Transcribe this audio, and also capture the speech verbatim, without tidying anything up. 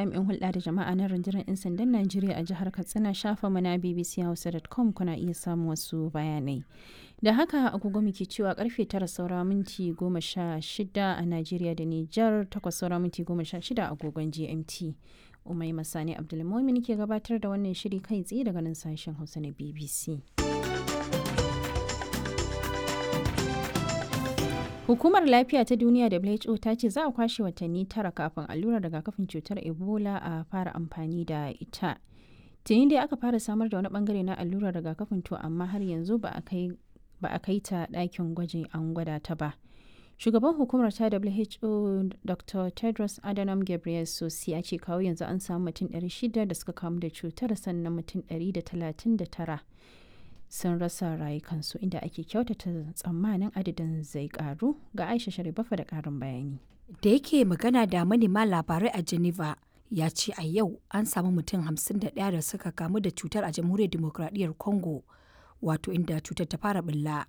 jami'in hulɗa da jama'a na rundunar 'yan sandan Najeriya a jihar Katsina shafa mana bbchausa dot com kuna iya samun wasu bayanai. Da haka agogo muke cewa karfe tara saura minti goma sha shida a Najeriya da Nijar, takwas saura minti goma sha shida agogon G M T. Umai Masani Abdulmumin ke gabatar da wannan shiri kai tsaye daga nan sashen Hausa na B B C. Hukumar Lafiya ta Duniya W H O ta ce za a kwashe watanni tara kafin allurar rigakafin cutar Ebola a fara amfani da ita. Tuni dai aka fara samar da wani bangare na allurar rigakafin, to amma har yanzu ba a kai ta ɗakin gwajin an gwada ta ba. Shugaban hukumar ta W H O Doctor Tedros Adhanom Ghebreyesus ya ce kawo yanzu an samu mutum ɗari shida da suka kamu da cutar, sannan mutum ɗari da talatin da tara sun rasa rayukansu, inda ake kyautata tsammanin adadin zai karu. Ga Aisha Sharifafa da karin bayani. Da yake magana da manema labarai a Geneva, ya ce a yau an samu mutum hamsin da ɗaya da suka kamu da cutar a Jamhuriyar Dimokuraɗiyyar Congo, wato inda cutar ta fara bulla.